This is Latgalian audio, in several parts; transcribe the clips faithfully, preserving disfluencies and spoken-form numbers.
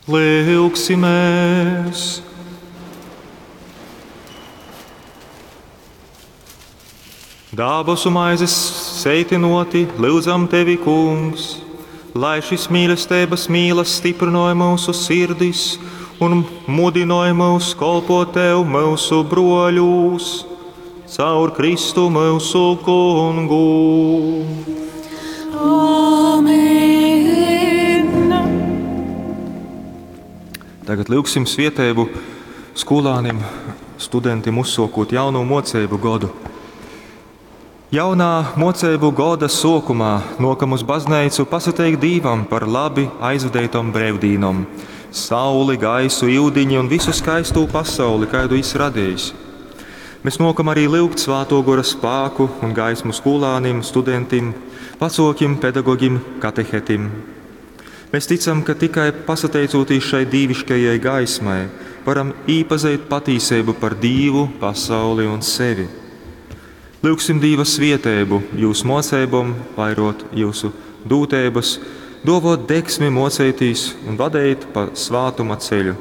Lyugsimēs! Dabasu maizes seitinoti, lyudzam tevi, Kungs, lai šis mīlesteibas mīlas stiprinoja mūsu sirdis un mudinoja mūs kolpot tev mūsu broļūs, caur Kristu mūsu Kungu. Amen. Tagad lyugsim svieteibu skolānim, studentim uzsokot jauno mocību godu. Jaunā mocību goda sokumā nokam uz baznīcu pasateikt Dīvam par labi aizvadītom brīvdīnom, sauli, gaisu, iudiņi un visu skaistū pasauli, kādu jis radījis. Mēs nokam arī lyugt Svāto Gora spāku un gaismu skolānim, studentim, vecokim, pedagogim, katehetim. Mēs ticam, ka tikai pasateicoties šai dīviškajai gaismai, varam īpazīt patīsību par Dīvu, pasauli un sevi. Lūgsim Dīva svieteibu jūsu mocībom, vairot jūsu dūtības, dovot deksmi mocētīs un vadīt pa svātuma ceļu.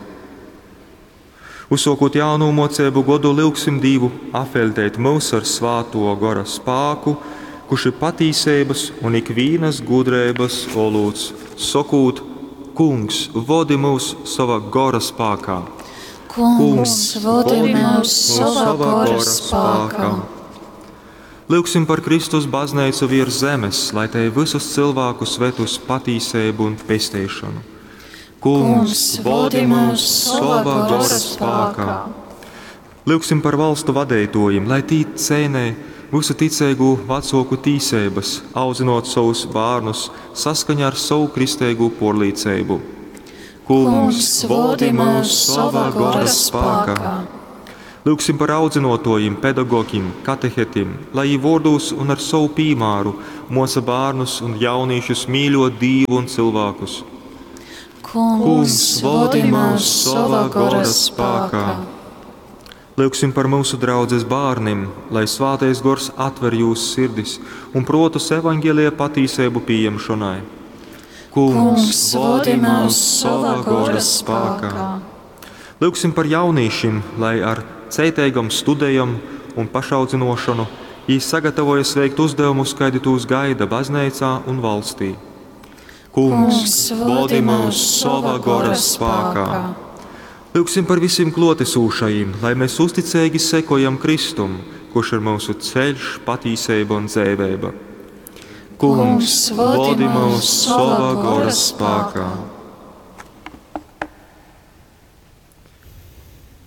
Uzsokot jaunu mocību godu, lūgsim Dīvu apveltēt mūs ar svāto gora spāku, kurš ir patīsības un ikvienas gudrības olūts, sokūt, Kungs, vodi mūs sava gora spākā. Kungs, vodi mūs sava gora spākā. Lūgsim par Kristus baznīcu virs zemes, lai te visus cilvēkus ved uz patīsību un pestīšanu. Kungs, vodi mūs sava gora spākā. Lūgsim par valstu vadītājiem, lai tī cēnē visu ticīgu vecoku tīsības, audzinot savus bērnus saskaņā ar savu kristīgu porlīcību. Kungs, vodi mūs sava gora spākā. Lūgsim par audzinotojiem, pedagogiem, katehetim, lai viņi vārdūs un ar savu pīmāru moca bērnus un jauniešus mīļot Dievu un cilvēkus. Kungs, vodi mūs sava gora spākā. Lūgsim par mūsu draudzes bērniem, lai Svētais Gors atver jūsu sirdis un protus evaņģēlija patīsību pieņemšanai. Kungs, vodi mūs sava gora spākā. Lūgsim par jauniešiem, lai ar ceitīgam studējam un pašaudzinošanu viņi sagatavojas veikt uzdevumus, kādi tūs gaida baznīcā un valstī. Kungs, vodi mūs sava gora spākā. Lūgsim par visiem klotesūšajiem, lai mēs uzticīgi sekojam Kristum, kurš ir mūsu ceļš, patīsība un dzēvēba. Kungs, vodi mūs sava gora spākā.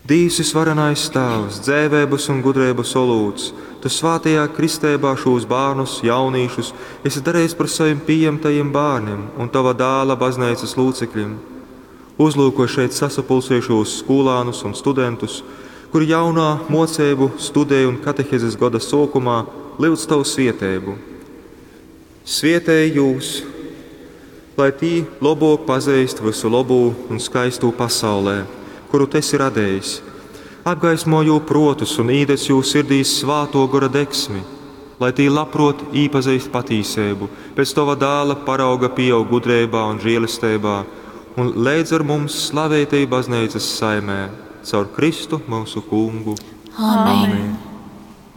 Dīvs visvarenais Tēvs, dzēvēbas un gudrības olūts, tu svātajā kristībā šos bērnus, jaunīšus, esi darījis par saviem pieņemtajiem bērniem un tava dāla baznīcas locekļiem. Uzlūko šeit sasapulcējušos skolānus un studentus, kuri jaunā mocību, studēju un katehezes gada sākumā lūdz tavu svietēbu. Svietēj jūs, lai tī labāk pazīst visu labū un skaistū pasaulē, kuru tu esi radījis. Apgaismo jū protus un īdec jū sirdīs svāto gora deksmi, lai tī labprot īpazīst patīsību, pēc tava dāla parauga pieaug gudrībā un žēlestībā, un līdz ar mums slavētī baznīcas saimē, caur Kristu mūsu kungu. Amen. Amen.